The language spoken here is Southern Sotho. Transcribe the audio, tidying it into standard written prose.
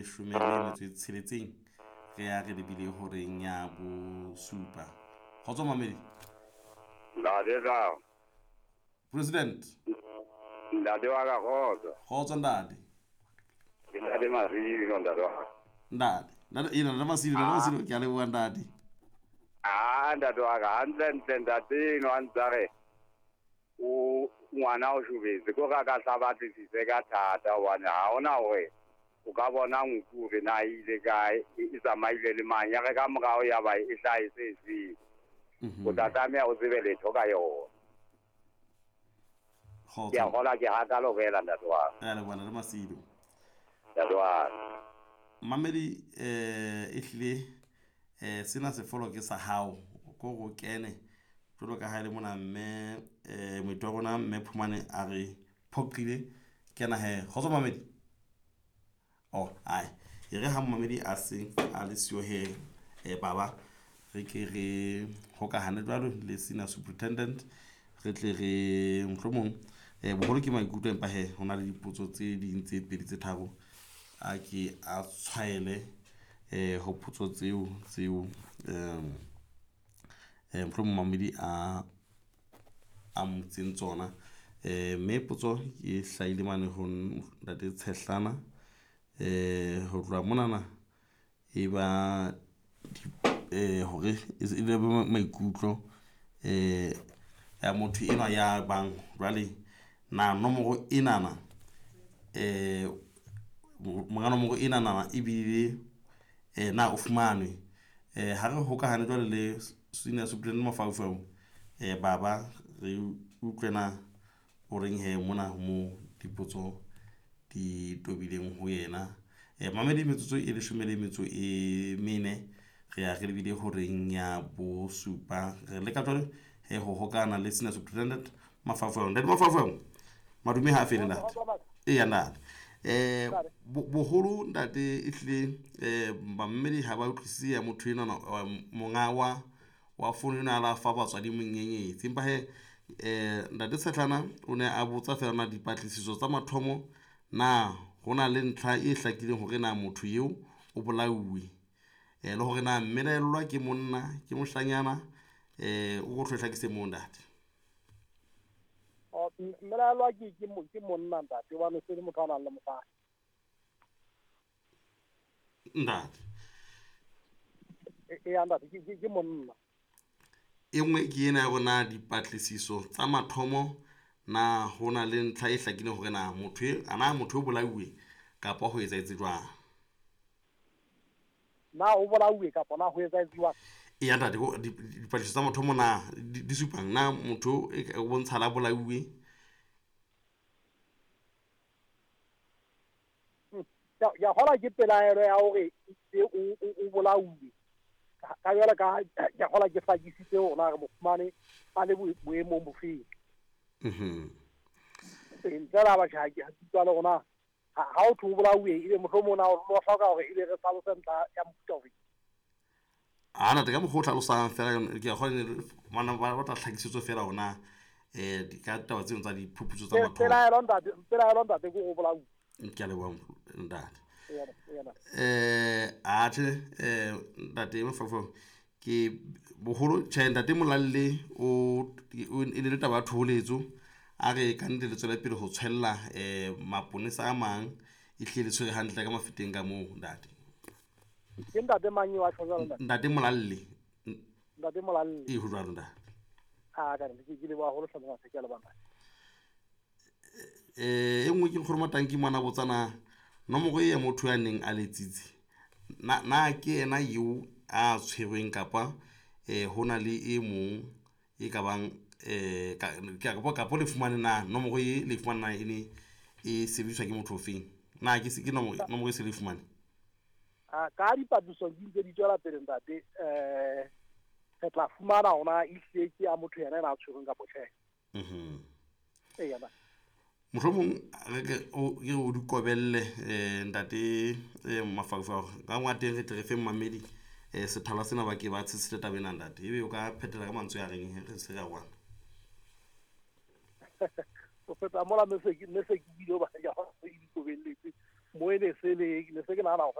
Leshome le metso e tsheletseng re ya re lebile horeng ya bosupa. Kgotso mamedi. Ntate ka. President. Ntate wa ka kgotso. Kgotso ntate. Ke ntate Masilo ntate wa ka. Ntate. Ntate ena ntate Masilo, ntate Masilo ke a leboha ntate. Ah ntate wa ka hantle ntle ntate eno a ntsa re o ngwana o shobetse ko ka ka tla batlisise ka thata hobane ha hona hore o ka bona nku hore na e ile kae e tsamaile le mang ya re ka morao ya ba e hlahe se seng. O tla tlameha o tsebe letho ka yona. Ke a kgola ke hakalo fela ntate wa ka. Re a leboha ntate Masilo. Ntate wa ka. Mamedi ehlile sena sefolo ke sa hao ko go kene jwalo ka ha e le mona mme moeti wa rona mme Phumane a re phoqile kena he. Kgotso mamedi. Oh ai e re ha momamedi a se a le siyo he baba re ke re hokahane jwalo le senior superintendent re tle re mohlomong boholo ke maikutlo empa he ho na le dipotso tse ding tse pedi tse tharo a ke a tshwaele ho potso tseo tseo mohlomong mamedi a motseng tsona. Mme potso e hlahile mane ho ntate Tshehlana ho tloha monana e ba hore e be maikutlo ya motho enwa ya bang jwale na nomoro enana monga nomoro enana ebile na o fumanwe. Ha re hokahane jwale le senior superintendent Mafaufau baba re utlwe na o reng he mona mo dipotso di tobileng ho yena. Mamedi metsotso e leshome le metso e mene re ya re lebile horeng ya bosupa. Re leka jwale he ho hokana le senior superintendent Mafaufau. Ntate Mafaufau madume ha a fele ntate. Eya ntate. Boholo ntate ehlile bamamedi ha ba utlwisise ya motho enwana monga wa fono ena a la fa batswadi monyenyetsi. Empa he ntate Tshehlana o ne a botsa fela na dipatlisiso tsa mathomo na ho na le ntlha e hlakileng hore na motho eo o bolauwe le hore na mmelaellwa ke monna ke moshanyana o go hlakise moo ntate. Mmelaellwa ke monna ntate hobane se le motho a nang le mosadi. Ntate. Eya ntate ke monna. E nngwe ke ena ya rona dipatlisiso tsa mathomo na ho na le ntlha e hlakileng hore na motho e ana motho o bolauwe kapa ho etsahetse jwang. Na o bolauwe kapa na ho etsahetse jwang? Eya ntate dipatlisiso tsa mathomo na di supang na motho o bontsha la bolauwe? Ya kgola ke pelaelo ya hore o bolauwe. Ka jwale ka ke kgola ke hlakisitse hore na re mo fumane a le boemong bofeng. Ntle la batjha ha ke utlwa le rona ha o thwe o bolauwe ebe mohlomong na o hloka hore ebe re hlalose ntlha ya mofuta ofe. A ntate ka mokgwa o hlalosang fela ke a kgona mana ba batla tlhakisetso fela hore na ka taba tseno tsa diphuputso tsa mathomo. Pelaelo ntate ke o bolauwe. Ke a leboha ntate. Atjhe ntate Mafaufau ke boholo tjhe ntate Molalle o e ne le taba ya thoholetso a re ka nnete le tswele pele ho tshwella maponesa a mang e hlile le tshwere hantle ka mafeteng ka moo ntate. Ke ntate mang eo a tjho jwalo ntate? Ntate Molalle. Ntate Molalle. E ho jwalo ntate. A ka re ke leboha haholo hle monga ke a leboha. E nngwe ke nkgono Matanki mwana botsana nomoro e ya motho ya neng a letsitse na ke yena eo a tshwerweng kapa ho na le e mong e ka bang kapo le fumane na nomoro e le fumane na e ne e sebediswa ke motho ofeng na ke ke nomoro e se le fumane? Ka dipatlisiso di ntse di tswela pele ntate re tla fumana hona ehlile ke ya motho yena a tshwerweng kapa tjhe. Eya ba. Mohlomong re ke o di kobelle ntate Mafaufau ka ngwa teng re tle re fe mmamedi sethala sena ba ke ba tshetshe taba ena ntate ebe o ka phethela ka mantswe a reng re se re a bona. O feta mola me se ke bile ba ya go di kobelletse. Mo e ne se le ne se ke nahana hore.